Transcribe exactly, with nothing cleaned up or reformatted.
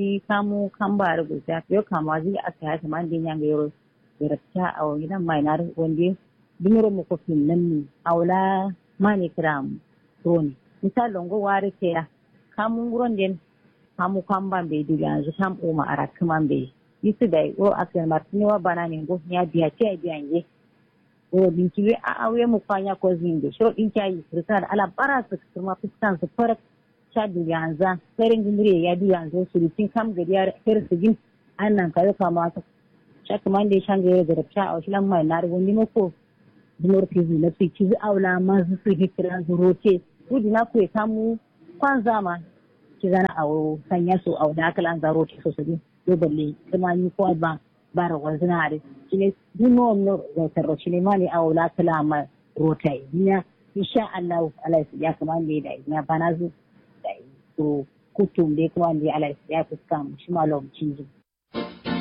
Shi kamu kamba dǝ gultiya yo kamuwa zǝ yi aska ya kǝmande nyange yero. Garabta awo ngidan mai na dǝ wande. Dǝmiro mukofin namni awo la mane kǝla am. Roni misal lo ngo ware keya. Kamu nguron den. Kamu kamba mbe duganzu kam uma arakkǝma mbe. Yisǝ dai wuro aska martǝne wa bana ne ngo nya biya tiya biya nge. Wuro dinki we a'a we mukwa nya kozǝ nge shiro dinki ayi kǝrǝsǝna dǝ ala bara sǝk kǝrma fǝskan sǝ farak. Sha duganza sare ngǝmǝre ya duganza surutin kam gadiya. Her sǝgin. An nanka yo kama sǝ. Sha kǝmande sha nge yo garabta awo shilan mai na dǝ wande mako. Dǝmor kǝzi nafsi kǝzi awo la mazǝ sǝ hikkilanzǝ rote. Wudina kwe kamu kwanza ma. Kǝzana awo sanya so awo da kǝlanza rote so sǝgin. Yo balle kǝma nyi kowa ba. Bara walzǝna adǝ. Shine duk nowam no zautarro shine mane awo la kǝla ma. Rotaye nya. Insha allahu alai sǝdiya kǝmande dai nya banazǝ. Dai kuro kuttum dai kǝmande alai sǝdiya kǝskam shima lom cinjin.